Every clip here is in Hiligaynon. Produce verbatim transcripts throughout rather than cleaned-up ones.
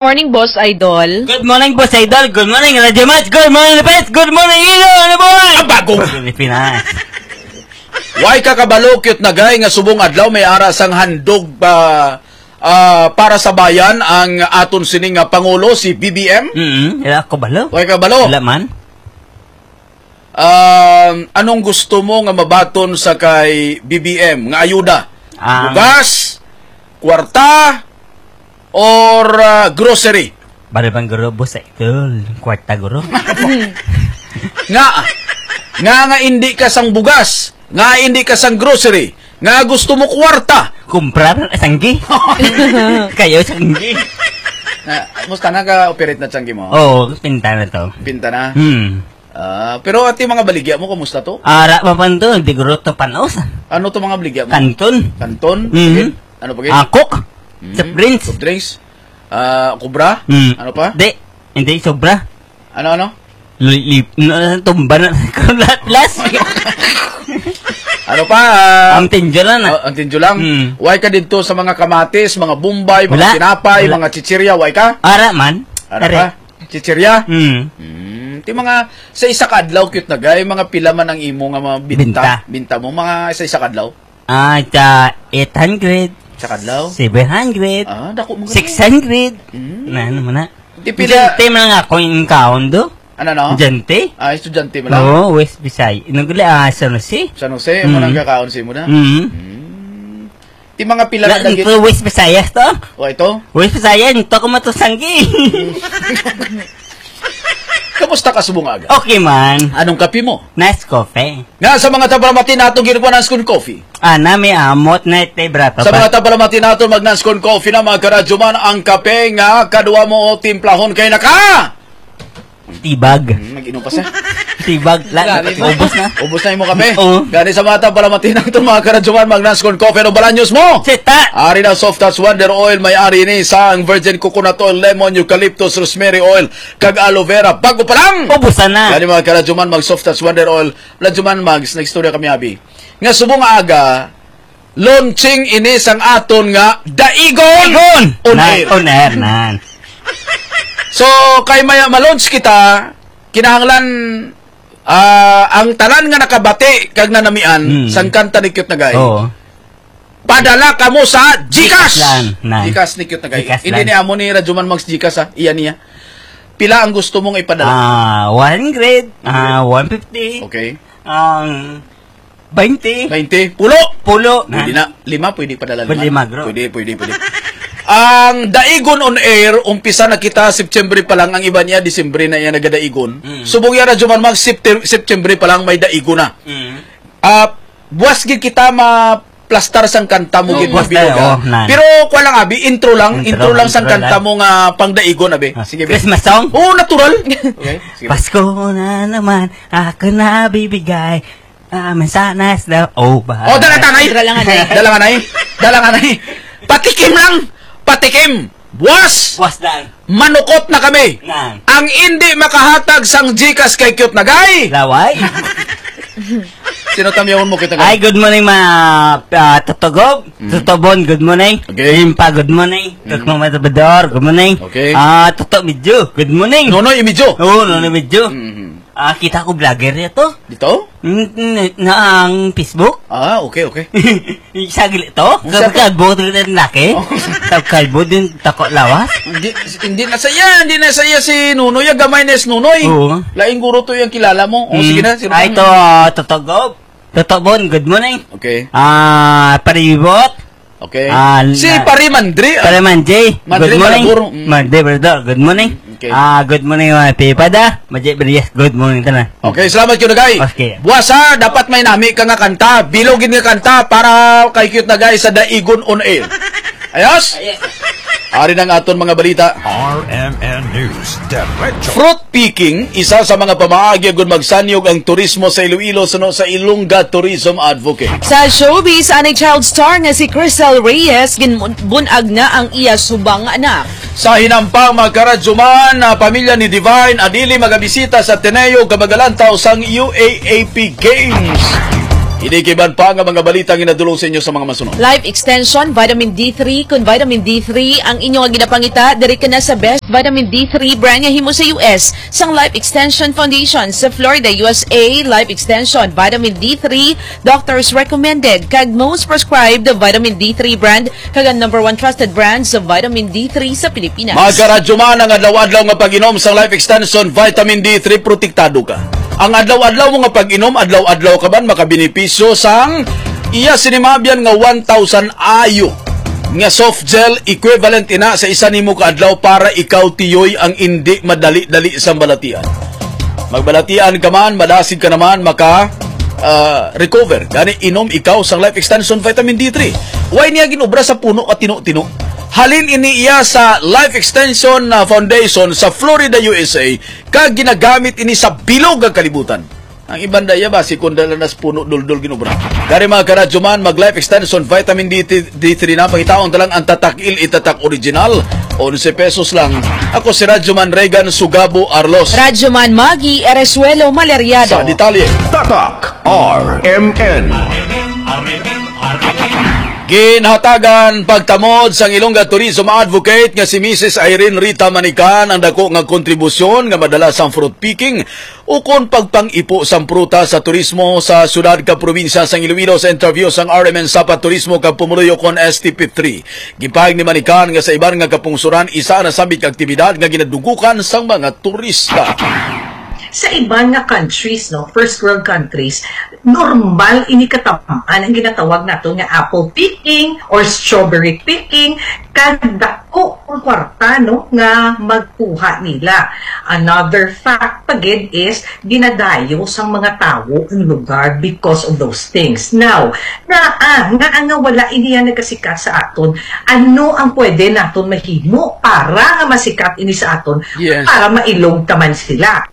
Morning, Boss Idol. Good morning, Boss Idol. Good morning, Radyo Mats. Good morning, Lopez. Good morning, Ilo. Ano, boy? Ang bagong Pilipinas. Why ka kabalo, cute na guy, nga subong adlaw may ara sang handog pa, ah, para sa bayan ang aton sining nga pangulo, si B B M? Mm, wala ko balo. Why ka balo? Wala man. Um, anong gusto mo nga mabaton sa kay B B M nga ayuda? Ah. Bugas, kwarta, or, ah, grocery? Bali bang guro, boss, eh, tol, kwarta, guro. Nga, nga, nga hindi ka sang bugas, nga hindi ka sang grocery, nga gusto mo kwarta. Kumpra na sanggi. Kayo sanggi. Na, musta, naka-operate na sanggi mo? Oo, pinta na to. Pinta na? Hmm. Ah, pero ati mga baligya mo, kumusta to? Ara pa pan to, di guro to panos. Ano to mga baligya mo? Kanton. Kanton? Mhm. Sige. Ano pa, gid? Ah, Coke. Mhm. Soft drinks. Soft drinks. Ah, kubra? Mm. Ano pa? Di, hindi sobra. Ano, ano? Li-, li-, na, tumba na. Lahat, last. Ano pa? Ah, Ang tinjo lang, ah. Oh, ang tinjo lang. Mm. Why ka dito sa mga kamatis, mga bombay, mga Wala. Tinapay, Wala. Mga chichirya? Why ka? Ara man. Ara Are. Ka? Chichirya? Mm. Mm. Ti mga sa isa ka adlaw, cute na guy, mga pila man ang imo nga mga binta? Binta. Binta mo, mga sa isa ka adlaw? Ah, sa eight hundred. Sa kadlaw? Seven hundred. Ah, dako man gani. Six hundred. Mm. Na, ano mo na? Di pila Diyan, te, man nga akong income do. Ano, no? Diyan, te. Ah, estudyante mo lang? Oo, West Bisay. Naguli, ah, San Jose. San Jose, Mm. mo nang kakaon sa imo na? Mm. Mm. Ti mga pila Na, na dagit? Ito, West Visayas to. O, ito? West Visayas, ito ko matusanggi. Kamusta ka subong aga? Okay man. Anong kape mo? Nice coffee. Nga sa mga tabalamati nato, ginikuha ng Scone Coffee. Ah, nami amot na ite, brato Sa pa. Mga tabalamati nato, mag Nanscon Coffee na, mga karadyo man, ang kape nga kadwa mo o timplahon kay naka. Tibag. Hmm, nag-inom pa siya. Tibag. La, Grabe mo. Ubos na. Ubos na yung kape. Oo. Gani sa mga tabalamati nato, mga karadyo man, mag Nanscon Coffee, ano balanyos mo? Sita. Ari na soft touch wonder oil, may ari ni sa ang virgin coconut oil, lemon, eucalyptus, rosemary oil, kag aloe vera. Bago pa lang. Ubusan na. Gani mga karadyo man, mag soft touch wonder oil. Radyo man, mag, nag-istorya kami, abi. Nga subong nga aga, launching ini sang aton nga Daigon Daigon! on Nan, air. On air, nan. So, kay maya ma-launch kita, kinahanglan, ah, ang tanan nga nakabati kag nanamian Hmm. sang kanta ni Cute na Guy, Oo. padala kamo sa GCash. Nan, nan. GCash ni Cute na Guy. GCash Hindi lang. Ni amo ni Radyo Man Mags GCash, ha. Iya niya. Pila ang gusto mong ipadala? Ah, one hundred, ah, one fifty. Okay. Ang Bainte. Bainte. Pulo. Pulo. Pwede na. Lima, pwede padala lima. Pwede, magro. Pwede, pwede, pwede. Ang Daigon on Air, umpisa na kita September pa lang, ang iba niya, Disyembre na iya nagadaigon. Mm. Subong yara, Juman, mag Septem-, September pa lang may daigon na. Mm. Ah, buwas gid kita maplastar sang kanta mo Oh, gid, buwas mabilog, tayo. Ah. Oh, nan. Pero kuha lang, abi, intro lang, Intro, intro lang sang intro kanta lang. Mo nga pangdaigon, abi. Ah, Sige, be. Christmas song? Oo, natural. Okay, sige. Pasko na naman, ako na bibigay. Ah, mansanas daw. Oh, ba? Oh, dala tanay. Dala nga, nay. Dala nga, nay. Dala nga, nay. Patikim lang. Patikim. Buwas. Buwas lang. Manukot na kami. Nang. Ang hindi makahatag sang GCash kay Cute na Guy. Laway. Sino tamyawon mo kita, Guy? Ay, good morning, mga, ah, Toto Gob. Mm. Toto Bon, good morning. Okay. Limpa, good morning. Mm. Toto Matador, good morning. Okay. Ah, Toto Medyo, good morning. Nonoy Medyo. Oo, Nonoy Medyo. Mm-hmm. Ah, kita ko vlogger niya to. Dito? Mm, mm, na ang Facebook. Ah, okay, okay. Saglit to? Ang sa- Kalbo to yung laki? Oh. Sa kalbo din, tako lawas? Hindi, hindi na saya, hindi na saya si Nunoy. Ang gamay na si Nunoy. Oo. Laing guro to yung kilala mo. O, Mm. sige na, sino Ay, pa? To, Toto Gob. Toto Bon, good morning. Okay. Ah, Paribot. Okay. Ah, Si na- Pare Mandri, ah. Pare Mandri, Mandri good morning. Malabur, mm. Mandri, brother, good morning. Okay. Ah, good morning, mga pipada. Majay Brias, good morning, tanan. Okay, salamat, Cute na Guy. Okay. Buwas, ha, dapat may nami ka nga kanta. Bilog gid nga kanta para kay Cute na Guy sa Daigon on Air. Ayos? Ayos. Ari na ang aton mga balita. R M N News, Derecho. Fruit picking, isa sa mga pamaagi agud magsanyog ang turismo sa Iloilo, suno sa Ilongga Tourism Advocate. Sa showbiz, anay child star nga si Crystal Reyes, ginbunag na ang iya subang nga anak. Sa hinampang, mga karadyo man, ang pamilya ni Divine Adili magabisita sa Ateneo Kabagalantaw sang U A A P Games. Ini kag iban pa nga mga balita ang ginadulong sa inyo sa mga masunod. Life Extension Vitamin D three. Kung Vitamin D three ang inyo nga ginapangita, diri ka na sa best Vitamin D three brand nga himo sa U S. Sang Life Extension Foundation sa Florida, U S A, Life Extension Vitamin D three, doctors recommended kag most prescribed Vitamin D three brand kag ang number one trusted brand sa Vitamin D three sa Pilipinas. Mga karadyoman, ang adlaw-adlaw nga pag-inom sang Life Extension Vitamin D three, protektado ka. Ang adlaw-adlaw mo nga pag-inom, adlaw-adlaw ka man makabenepisyo sang iya sini maabyan nga one thousand I U nga soft gel, equivalent ina sa isa nimo ka adlaw para ikaw tiyoy ang indi madali-dali sang balatian. Magbalatian ka man, madasig ka naman, maka ah, recover. Gani, inom ikaw sang Life Extension Vitamin D three. Why niya ginobra sa puno at tino-tino? Halin ini iya sa Life Extension, ah, Foundation sa Florida, U S A, kag ginagamit ini sa bilog nga kalibutan. Ang iban daya ba, si kundala nas puno duldul ginobra. Gani, mga karadyoman, mag Life Extension Vitamin D three na, pangitaon ta lang ang Tatak Il, Itatak Original, onse pesos lang. Ako si Radyoman Regan Sugabo Arlos. Radyoman Maggie Eresuelo Maleriado. Sa detalye. Tatak R M N. Ginhatagan pagtamod sang Ilongga Tourism Advocate nga si Missus Irene Rita Manican ang dako nga kontribusyon nga madala sang fruit picking ukon pagpang-ipo sang prutas sa turismo sa syudad kag probinsya sang Iloilo. Sa interview sang R M N Sapa Turismo kag Pumuluyo kon S T P three, gipahayag ni Manican nga sa iban nga kapungsoran, isa na sambit ka aktibidad nga ginadugukan sang mga turista. Sa iban nga countries, no, first world countries, normal ini katamaan ang ginatawag nato nga apple picking or strawberry picking, kag dako ang kwarta, no, nga magkuha nila. Another fact pa gid is ginadayo sang mga tawo ang lugar because of those things. Now, nga, ah, nga, nga wala iniya nagasikat sa aton, ano ang pwede naton mahimo para nga masikat ini sa aton, Yes. para mailog ta man sila?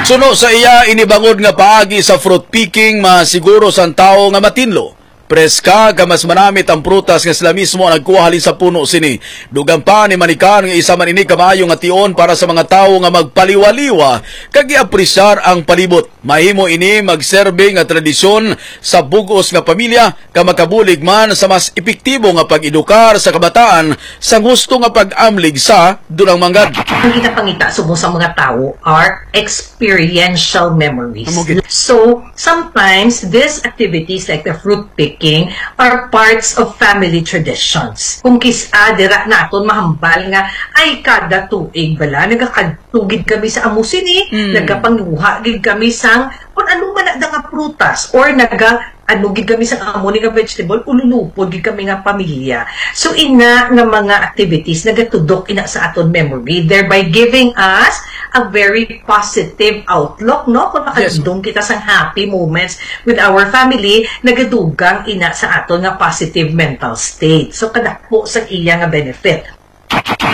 Suno sa iya, ini bangod nga paagi sa fruit picking, masiguro sang tawo nga matinlo, preska, kag mas manamit ang prutas nga sila mismo ang nagkuha halin sa puno sini. Dugang pa ni Manican nga isa man ini ka maayo nga tion para sa mga tawo nga magpaliwaliwa kag i-apresyar ang palibot. Mahimo ini magserbe nga tradisyon sa bug-os nga pamilya, ka makabulig man sa mas epektibo nga pag-edukar sa kabataan sa gusto nga pag-amlig sa dunang manggad. Ang ginapangita subong sa mga tawo are experiential memories. Amo gid. So, sometimes these activities like the fruit picking are parts of family traditions. Kung kis-a dira naton mahambal nga, ay, kada tuig bala nagakadto gid kami sa amo sini, Mm. nagapanguha gid kami sang kung ano man na nga prutas, or naga ano gid kami sa amo ni nga vegetable, ululupod gid kami nga pamilya. So, ina nga mga activities nagatudok ina sa aton memory, thereby giving us a very positive outlook, no? Kung Yes. makadungog kita sang happy moments with our family, nagadugang ina sa aton nga positive mental state. So, kadako sa iya nga benefit.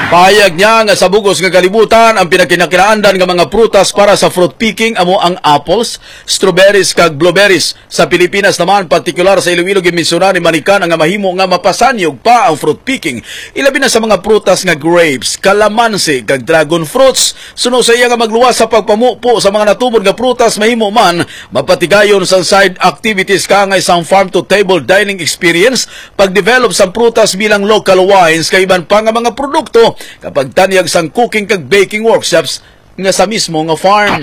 Pahayag niya nga sa bug-os nga kalibutan, ang pinakinakilaandan nga mga prutas para sa fruit picking amo ang apples, strawberries, kag blueberries. Sa Pilipinas naman, partikular sa Iloilo, ginmensyonan ni Manican nga mahimo nga mapasanyog pa ang fruit picking, ilabi na sa mga prutas nga grapes, kalamansi, kag dragon fruits. Suno sa iya nga magluwas sa pagpamupo sa mga natubod nga prutas, mahimo man mapatigayon sang side activities kaangay sang farm to table dining experience, pag-develop sang prutas bilang local wines kag iban pa nga mga produkto, kag pagtanyag sang cooking kag baking workshops nga sa mismo nga farm.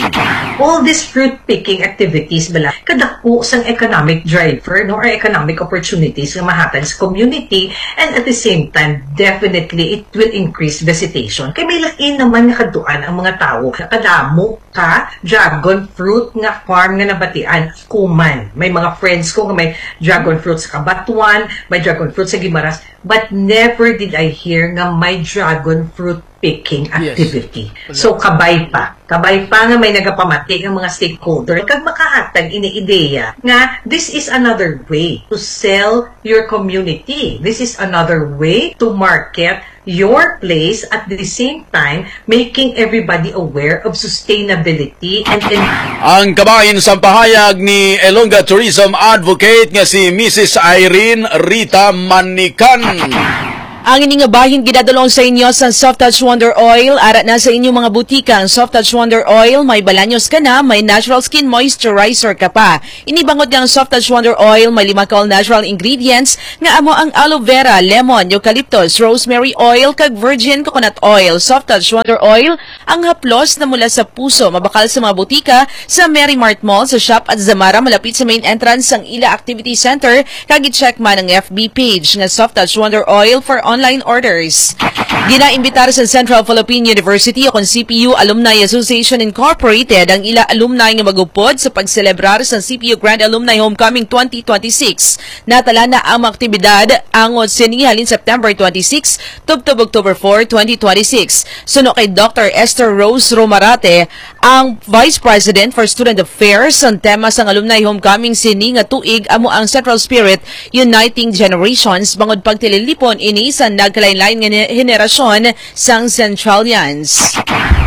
All these fruit picking activities bala kadako sang economic driver, no, or economic opportunities nga mahatag sa community, and at the same time, definitely it will increase visitation. Kay may lain naman nga kadtuan ang mga tawo. Kadamo ka dragon fruit nga farm nga nabatian ko man. May mga friends ko nga may dragon fruit sa Cabatuan, may dragon fruit sa Guimaras, but never did I hear nga may dragon fruit picking Yes. activity. Wala. So, kabay pa. Kabay pa nga may nagapamati ang mga stakeholder kag makahatag ini ideya nga this is another way to sell your community. This is another way to market your place, at the same time making everybody aware of sustainability and en- Ang kabahin sa pahayag ni Ilongga Tourism Advocate nga si Missus Irene Rita Manican. Ang ini nga bahin ginadulong sa inyo sa Soft Touch Wonder Oil. Ara na sa inyong mga butika ang Soft Touch Wonder Oil. May Balaños ka na, may natural skin moisturizer ka pa. Ini bangod nga ang Soft Touch Wonder Oil may lima ka all natural ingredients nga amo ang aloe vera, lemon, eucalyptus, rosemary oil, kag virgin coconut oil. Soft Touch Wonder Oil, ang haplos na mula sa puso, mabakal sa mga butika, sa Merry Mart Mall, sa Shop at Zamara, malapit sa main entrance sang ila activity center, kag i-check man ang F B page nga Soft Touch Wonder Oil for online orders. Ginaimbitar sa Central Philippine University o kon C P U Alumni Association Incorporated ang ila alumni nga magupod sa pagselebrar sa C P U Grand Alumni Homecoming twenty twenty-six. Natala na ang mga aktibidad angot sini halin September twenty-six tubtob October four, twenty twenty-six. Suno kay Doctor Esther Rose Romarate, ang Vice President for Student Affairs, ang tema sang Alumni Homecoming sini nga tuig amo ang Central Spirit, Uniting Generations, bangod pagtililipon ini sa nagkalain-lain nga ne-, henerasyon sang Centralians.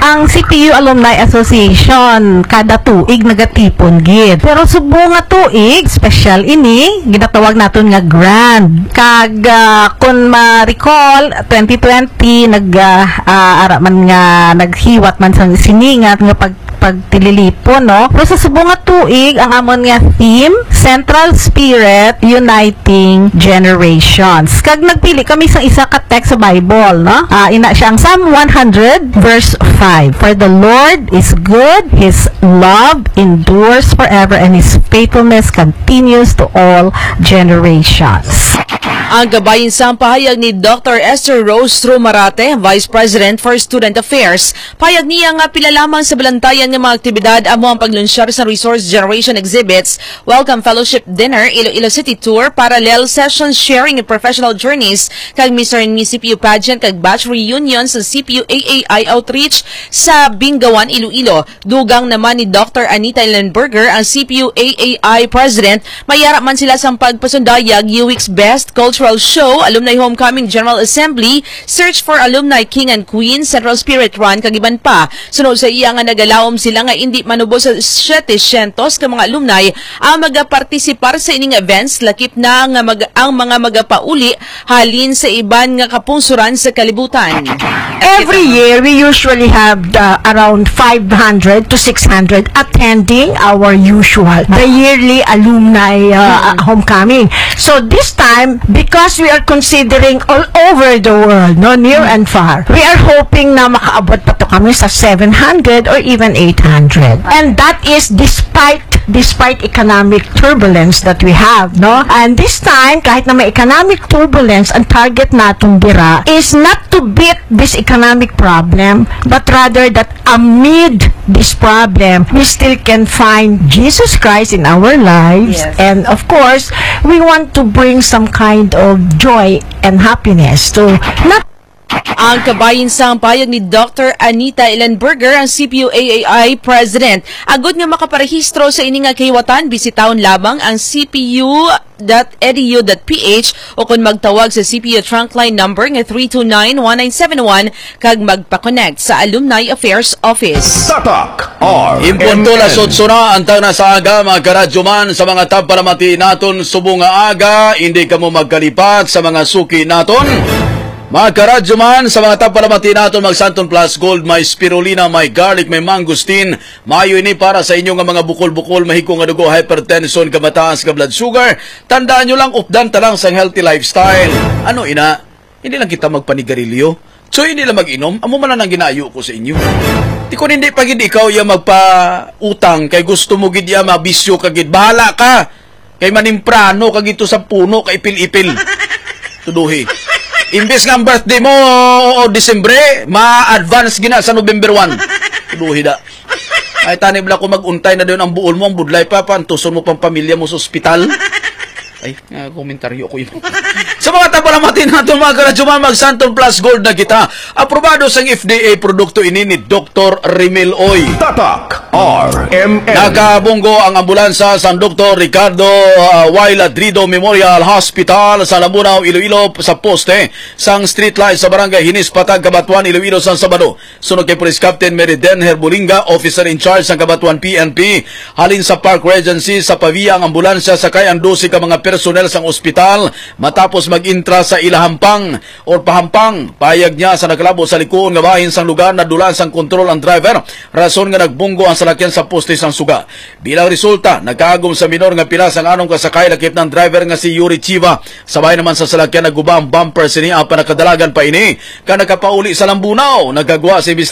Ang C P U Alumni Association kada tuig nagatipon gid. Pero subong nga tuig, special ini, ginatawag naton nga grand. Kag, ah, kung ma-recall, twenty twenty, nag, ah, ah, ara man nga naghiwat man sa sini nga, nga pag, pagtililipon, no? Pero sa subong nga tuig, ang amon nga theme, Central Spirit, Uniting Generations. Kag nagpili kami sa isa ka text sa Bible, no? Ah, ina siya ang Psalm one hundred, verse five. "For the Lord is good, his love endures forever, and his faithfulness continues to all generations." Ang kabahin sang pahayag ni Doctor Esther Rose Romarate, Vice President for Student Affairs. Pahayag niya nga pila lamang sa balantayan nga mga aktibidad amo ang paglunsar sa Resource Generation Exhibits, Welcome Fellowship Dinner, Iloilo City Tour, Parallel Sessions, Sharing and Professional Journeys, kag Mister and Miss C P U Pageant, kag Batch Reunion sa C P U A A I Outreach sa Bingawan, Iloilo. Dugang naman ni Doctor Anita Ellenberger, ang C P U A A I President, may ara man sila sang pagpasundayag, U X Best Cultural Show, Alumni Homecoming General Assembly, Search for Alumni King and Queen, Central Spirit Run, kag iban pa. Sunod sa iya nga nagalaom sila nga indi manubos sa setecientos ka mga alumni ang magapartisipar sa ining events, lakip na nga mag-, ang mga magapauli halin sa iban nga kapungsoran sa kalibutan. Every year, we usually have, uh, around five hundred to six hundred attending our usual, the yearly alumni, uh, homecoming. So this time, because we are considering all over the world, no, near and far, we are hoping na makaabot pa to kami sa seven hundred or even eight hundred. And that is despite, despite economic turbulence that we have, no? And this time, kahit na may economic turbulence, ang target natin dira is not to beat this economic problem, but rather that amid this problem, we still can find Jesus Christ in our lives. Yes. And of course, we want to bring some kind of joy and happiness to not Ang kabahin sang pahayag ni Doctor Anita Ellenberger, ang C P U A A I President. Agud nga makaparehistro sa ini nga kahiwatan, bisitahon lamang ang C P U dot E D U dot P H o kon magtawag sa C P U Trunkline number nga three two nine, one nine seven one kag magpa-connect sa Alumni Affairs Office. Tatak R M N. Impunto las otso na ang tagna sa aga, mga karadyoman, sa mga tagpalamati naton subong nga aga, hindi kamo magkalipat sa mga suki naton. Mga karadyoman, sa mga tagpalamati naton, mag Santon Plus Gold, may spirulina, may garlic, may mangosteen, maayo ini para sa inyo nga mga bukol-bukol, mahigko nga dugo, hypertension, kamataas nga blood sugar. Tandaan nyo lang, updan ta lang sang healthy lifestyle. Ano ina? Hindi lang kita magpanigarilyo. So, hindi lang mag-inom. Amo man lang ang ginaayo ko sa inyo. Di, kung hindi pa gid ikaw ya magpautang, kay gusto mo gid ya mabisyo ka gid, bahala ka. Kay manimprano ka gid to sa puno, kay ipil-ipil. Tuduhi. Imbes nga ang birthday mo o Disyembre, ma-advance gina sa November one. Tuduhi da. Ay, tani bala ko mag-untay na dayon ang buol mo, ang budlay pa, pantuson mo pang pamilya mo sa ospital. Ay, nga komentaryo ko yun. Sa mga tagpalamati naton, mga karadyoman, mag Santon Plus Gold na kita. Aprobado sang F D A produkto ini ni Doktor Rimel Oy. Tatak R M N. Nakabunggo ang ambulansya sang Doktor Ricardo, ah, Y. Ladrido Memorial Hospital sa Lambunao, Iloilo, sa poste sang street light sa Barangay Hinis, Patag, Cabatuan, Iloilo, sa Sabado. Suno kay Police Captain Mary Den Herbulinga, officer in charge sang Cabatuan P N P, halin sa Park Regency sa Pavia ang ambulansya, sakay ang dose ka mga personnel sang ospital matapos mag-intra sa ila hampang or pahampang. Pahayag niya, sa nakalabo sa likuon nga bahin sang lugar, nadula sang kontrol ang driver, rason nga nagbunggo ang salakyan sa poste sang suga. Bilang resulta, nagkaagom sa minor nga pilas ang anong kasakay, lakip na ang driver nga si Yuri Chiva. Sabay naman sa salakyan, naguba ang bumper sini, apan nakadalagan pa ini ka nakapauli sa Lambunao. Nagkagwa si Mister